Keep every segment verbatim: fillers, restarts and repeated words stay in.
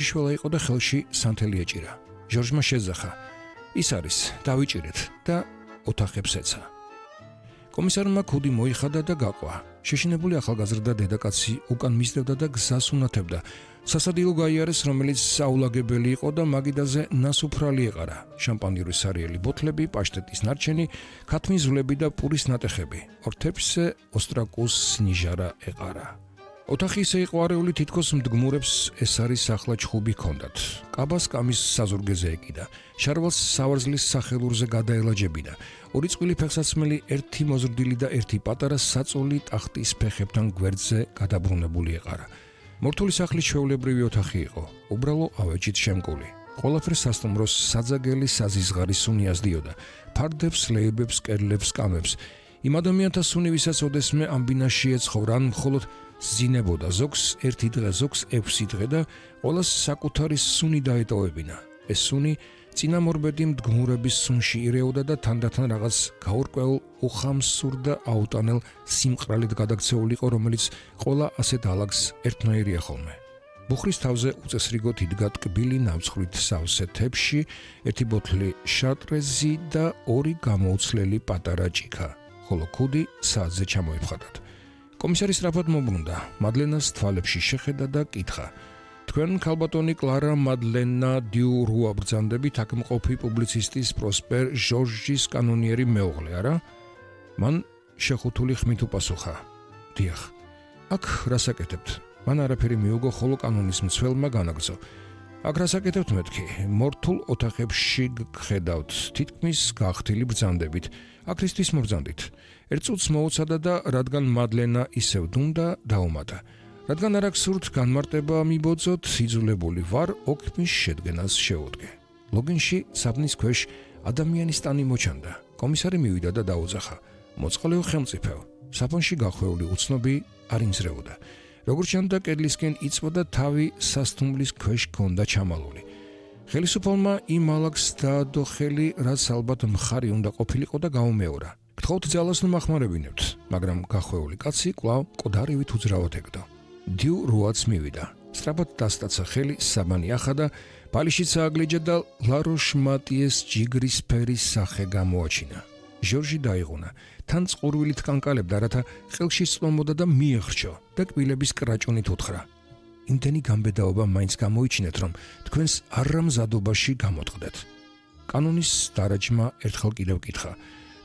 შიშველა იყო და ხელში სანთელი ეჭირა. ჟორჟმა შეძახა. ის არის, დავიჭირეთ და ოთახებს ეცა. კომისარმა ქუდი მოიხადა და გაყვა. შეშინებული ახალგაზრდა დედაკაცი უკან მისდევდა და გზას უნათებდა. სასადილო გაიარეს, რომელიც საულაგებელი იყო და მაგიდაზე ნასუფრალი ეყარა. შამპანიური სარიელი ბოთლები, პაშტეტის ნარჩენი, ქათმის ზვლები და პურის ნატეხები. ორთეფშზე ოსტრაკუს ნიჟარა ეყარა. ოთახი ისე იყო არეული, თითქოს მდგმურებს ეს არის ახლა ჩხუბი ჰქონდათ. კაბას კამის საზურგეზე ეკიდა. შარვალს სავარძლის სახელურზე გადაელაჯებიდა. ორი წყვილი ფეხსაცმელი, ერთი მოზრდილი და ერთი პატარა საწოლი ტახტის ფეხებთან გვერდზე გადაბრუნებული ეყარა. მორთული სახლის ჩვეულებრივი ოთახი იყო, უბრალო ავეჯით შემკული. ყველაფერს სასტუმროს საძაგელი საზიზღარი სუნი აზდიოდა. ფარდებს, ლეიბებს, კედლებს, კამებს. იმ ადამიანთა სუნი, ვისაც ოდესმე ამ ბინაში ეცხოვრა, ან მხოლოდ ზინებოდა ზოგს ერთი დღე, ზოგს ექვსი დღე და ყველას საკუთარი სუნი დაეტოვებინა. ეს სუნი წინამორბედი მდგმურების სუნში ირეოდა და თანდათან რაღაც გაურკვეულ, უხამსურ და აუტანელ სიმყრალედ გადაქცეულიყო, რომელიც ყველა ასეთ ალაგს ერთნაირია ხოლმე. ბუხრის თავზე უწესრიგოდ იდგა ტკბილი ნამცხრით სავსე თეფში, ერთი ბოთლი შატრეზი და ორი გამოუცლელი პატარა ჭიქა, ხოლო ქუდი საათზე ჩამოიფხადათ. კომისარი სწრაფად მოbrუნდა, მადლენას თვალებში შეხედა და კითხა: თქვენ ქალბატონი კლარა მადლენა დიუ რუა ბრძანდებით აქ მყოფი პუბლიცისტის პროსპერ ჟორჟის კანონიერი მეუღლე, არა? მან შეხუთული ხმით უპასუხა: დიახ. აქ რასაკეთებთ? მან არაფერი მიუგო, ხოლო კანონის მცველმა განაგრძო: აქ რასაკეთებთ მეთქი? მორთულ ოთახებში გხედავთ, თითქმის გახთილი ბრძანდებით. აქრისთვის მობრძანდით. ერთ წუთს მოუცადა და რადგან მადლენა ისევ დუმდა, დაუმატა: რადგან არ აქვს სურთ განმარტება მიბოძოთ, იძულებული ვარ ოქმის შედგენას შეუდგე. ლოგინში საბნის ქვეშ ადამიანის ტანი მოჩანდა. კომისარი მივიდა და დაუძახა: მოწყალეო ხელმწიფეო. საფონში გახვეული უცნობი არ იმზრეოდა. როგორც ჩანდა, კედლისკენ იწვოდა თავი სასტუმლის ქვეშ ჰქონდა ჩამალული. ხელისუფალმა იმ ალაგს დაადო ხელი, რაც ალბათ მხარი უნდა ყოფილიყო და გაუმეორა. გთხოვთ ძალას ნუ მახმარებინებთ, მაგრამ გახვეული კაცი კვლავ ყდარივით უძრავად ეკდო. დიუ რუაც მივიდა. სწრაფად დასტაცა ხელი, საბანი ახადა, ბალიშიც ააგლეჯა და ლაროშ მატიეს ჯიგრის ფერის სახე გამოაჩინა. ჟორჟი დაიღუნა, თან წყურვილით კანკალებდა, რათა ხელში წლომოდა და მიეხრჩო და კბილების კრაჭუნით უთხრა: იმდენი გამბედაობა მაინც გამოიჩინეთ, რომ თქვენს არამზადობაში გამოტყდეთ. კანონის დარაჯმა ერთხელ კიდევ კითხა: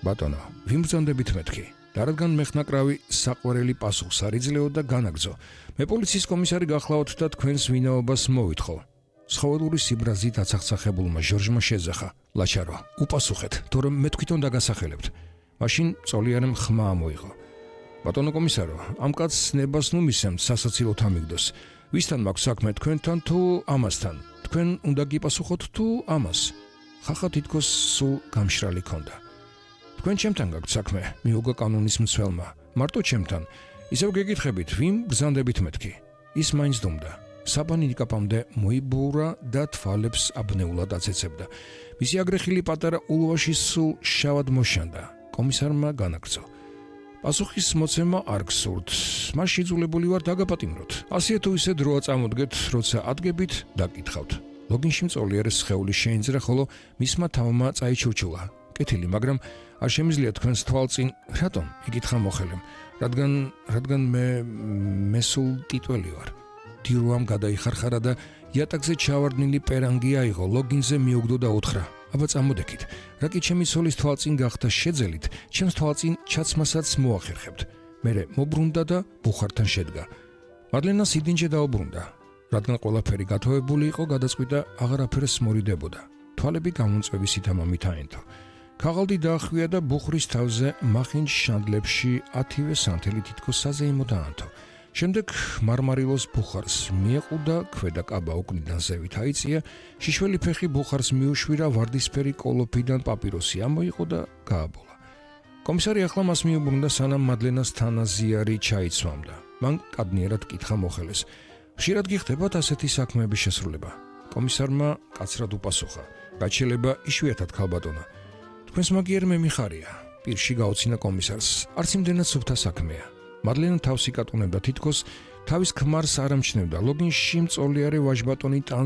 ბატონო, ვიმბრძანდებით მეთქი? და რადგან მეხნაკრავი საყვარელი პასუხს არ იძლეო და განაგრძო: მე პოლიციის კომისარი გახლავთ და თქვენს ვინაობას მოვითხოვ. სხოველური სიბრაზით აცახცახებულმა ჟორჟმა შეძახა: ლაჩარო, უპასუხეთ, თორემ მე თვითონ დაგასახელებთ. მაშინ წოლიარემ ხმა ამოიღო: ბატონო კომისარო, ამ კაცს ნებას ნუ მისცემთ სასაცილოდ ამიგდოს. ვისთან მაქვს საქმე, თქვენთან თუ ამასთან? თქვენ უნდა გიპასუხოთ თუ ამას? ხახა თითქოს სულ გამშრალი ქონდა. თქვენ ჩემთან გაქვთ საქმე, მიუგო კანონის მცველმა. მარტო ჩემთან. ისევ გეკითხებით, ვინ ბრძანდებით მეთქი? ის მაინც დუმდა. საბანი ნიკაპამდე მოიბურა და თვალებს აბნეულად აცეცებდა. მისი აგრეხილი პატარა ულვაში სულ შავად მოშანდა. კომისარმა განაგრძო: პასუხის მოცემა არ გსურთ, მას იძულებული ვარ დაგაპატიმროთ. ასეა თუ ისე დროა წამოდგეთ, როცა ადგებით, დაკითხავთ. ლოგინში მწოლიარეს სხეული შეინძრა, ხოლო მისმა თავმა წაიჩურჩულა. კეთილი, მაგრამ არ შემიძლია თქვენს თვალწინ. რატომ? იკითხა მოხელემ. რადგან რადგან მე მე სულ ტიტველი ვარ. დიურუამ გადაიხარხარა და იატაკზე ჩავარდნილი პერანგი აიღო, ლოგინზე მიუგდო და უთხრა: აბა წამოდექით, რა კი ჩემი ცოლის თვალწინ გახდა შეძელით, ჩემს თვალწინ ჩაცმასაც მოახერხებთ. მერე მოbrunდა და ბუხართან შედგა. მადლენას იდინჯე დაუბრუნდა. რადგან ყველაფერი გათოვებული იყო, გადაწყვიტა აღარაფერს მორიდებოდა. თვალები გამომწვევი ამამით აენთო. ქაღალდი დაახვია და ბუხრის თავზე მახინჯ შანდლებში ათივე სანთელი თითქოს საზეიმო დაანთო. შემდეგ მარმარილოს ბუხარს მიეყუდა, ქვედა კაბა უკნიდან ზევით აიწია, შიშველი ფეხი ბუხარს მიუშვირა, ვარდისფერი კოლოფიდან პაპიროსი ამოიყო და გააბოლა. კომისარი ახლა მას მიუბრუნდა, სანამ მადლენას თანაზიარი ჩაიცვამდა. მან კადნიერად კითხა მოხელეს: ხშირად გიხდებათ ასეთი საქმეების შესრულება? კომისარმა კაცრად უპასუხა: რაც შეიძლება იშვიათად ქალბატონო. თქვენს მაგიერ მე მიხარია. პირში გაუცინა კომისარს: არც იმდენად სუფთა საქმეა. მადლენა თავს იკატუნებდა, თითქოს თავის ქმარს არ ამჩნევდა. ლოგინში მწოლიარე ვაჟბატონი ტანს